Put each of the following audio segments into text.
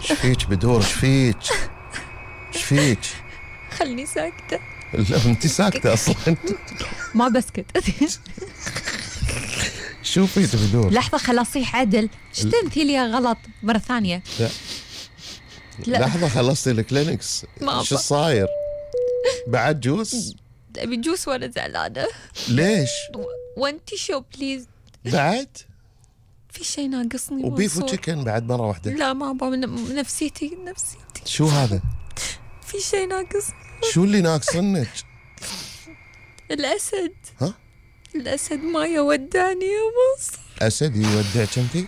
فيك بدور؟ ايش فيك؟ خلني ساكتة. لا انت ساكتة اصلا. ما بسكت. شو فيك بدور؟ لحظة خل اصيح عدل. ايش تمثيلية غلط مرة ثانية؟ لا لحظة خلصتي الكلينكس. شو صاير؟ بعد جوس؟ ابي جوس وانا زعلانة. ليش؟ وانتي شو بليز. بعد؟ في شيء ناقصني. وبيف وتشيكن بعد مرة واحدة؟ لا ما ابغى. نفسيتي. شو هذا؟ في شيء ناقصني. شو اللي ناقصنك؟ الأسد. ها؟ الأسد ما يودعني يا مصر. أسد يودعك انتي؟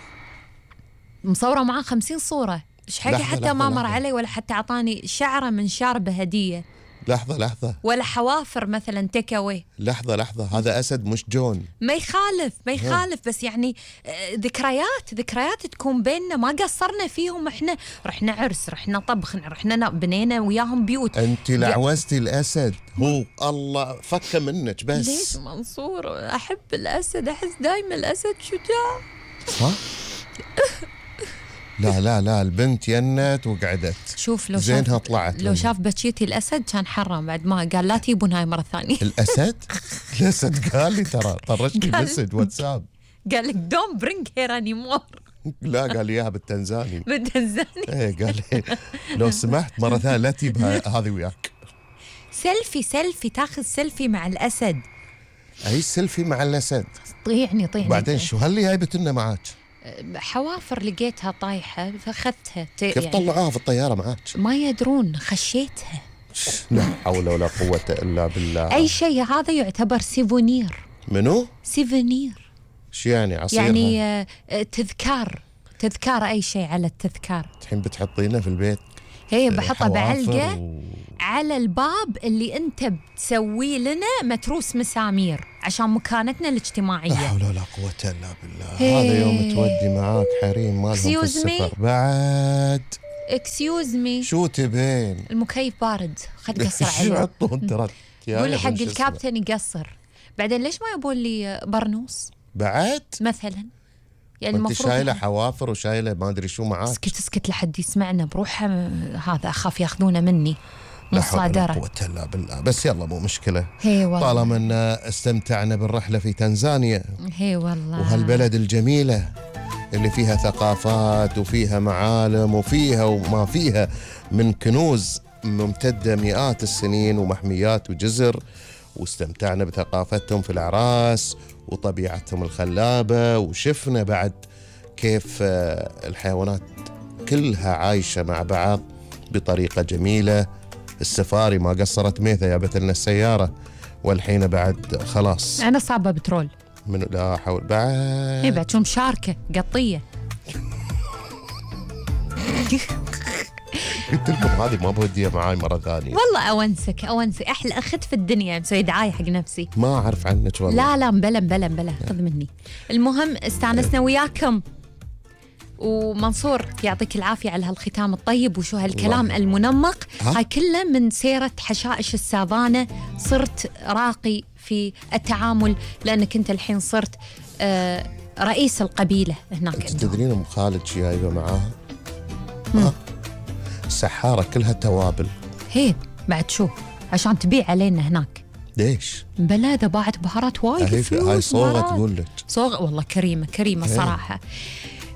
مصورة معاه 50 صورة. ايش حقي حتى ما مر علي ولا حتى اعطاني شعرة من شاربه هدية. لحظة ولا حوافر مثلا تيك اواي. لحظة هذا أسد مش جون. ما يخالف بس يعني ذكريات تكون بيننا ما قصرنا فيهم. احنا رحنا عرس، رحنا طبخ، رحنا بنينا وياهم بيوت. انت لعوزتي الأسد. هو الله فك منك بس. ليش منصور؟ احب الأسد، احس دايما الأسد شجاع. ها؟ لا البنت ينت وقعدت. شوف لو زينها طلعت. لو شاف بكيتي الأسد كان حرم بعد ما قال لا تجيبون هاي مرة ثانية. الأسد قال لي ترى طرشتي مسج واتساب قال لك don't bring here anymore. لا قال لي اياها بالتنزاني. ايه قال لي لو سمحت مرة ثانية لا تجيب هذه وياك. سيلفي تاخذ سيلفي مع الأسد. اي سيلفي مع الأسد؟ طيعني بعدين شو هاللي جايبت لنا معاك؟ حوافر لقيتها طايحة فاخذتها. كيف يعني طلعوها في الطيارة معاك؟ ما يدرون، خشيتها. لا حول ولا قوة إلا بالله. أي شيء هذا يعتبر سيفونير. منو؟ سيفونير. شو يعني عصير؟ يعني تذكار أي شيء على التذكار. الحين بتحطينه في البيت؟ هي بحطها بعلقة على الباب اللي أنت بتسوي لنا متروس مسامير عشان مكانتنا الاجتماعية. لا حول ولا قوة إلا بالله. هذا يوم تودي معاك حريم مالهم في السفر بعد. اكسيوز مي. شو تبين؟ المكيف بارد، خد قصر عليه. شو عطون ترى؟ قولي حق الكابتن يقصر. بعدين ليش ما يبون لي برنوس بعد مثلا؟ يعني انت شايله حوافر وشايله ما ادري شو معاك. اسكت لحد يسمعنا بروح. هذا اخاف ياخذونه مني مصادره. لا حول ولا قوة الا بالله. بس يلا مو مشكله. هي والله. طالما ان استمتعنا بالرحله في تنزانيا. هي والله. وهالبلد الجميله اللي فيها ثقافات وفيها معالم وفيها وما فيها من كنوز ممتده مئات السنين ومحميات وجزر. واستمتعنا بثقافتهم في الأعراس وطبيعتهم الخلابة. وشفنا بعد كيف الحيوانات كلها عايشة مع بعض بطريقة جميلة. السفاري ما قصرت ميثا جابت لنا السيارة. والحين بعد خلاص أنا صعبة بترول. من لا حول بعد. هي بعد شو مشاركة قطية. قلت لكم هذه ما بوديها معاي مرة ثانية. والله أونسك أحلى أخت في الدنيا. مسوي دعاية حق نفسي. ما أعرف عنك والله. لا بلا خذ مني. المهم استانسنا وياكم. ومنصور يعطيك العافية على هالختام الطيب وشو هالكلام المنمق. هاي كله من سيرة حشائش السافانة. صرت راقي في التعامل لأنك أنت الحين صرت رئيس القبيلة هناك. أنت تدرين أم خالد شي جايبة معاها؟ السحارة كلها توابل. هي بعد شو عشان تبيع علينا هناك. ليش؟ بلا إذا باعت بهارات وايد فلوس. هاي صوغة تقول لك. صوغة والله كريمة صراحة.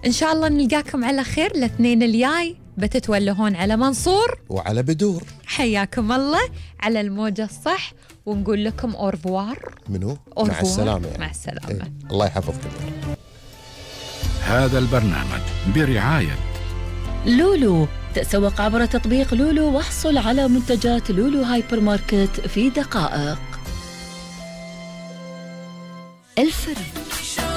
إن شاء الله نلقاكم على خير الاثنين الجاي. بتتولهون على منصور وعلى بدور. حياكم الله على الموجة الصح. ونقول لكم أورفوار. منو؟ مع السلامة يعني. مع السلامة. الله يحفظكم. هذا البرنامج برعاية لولو. تسوق عبر تطبيق لولو واحصل على منتجات لولو هايبر ماركت في دقائق. الفريق.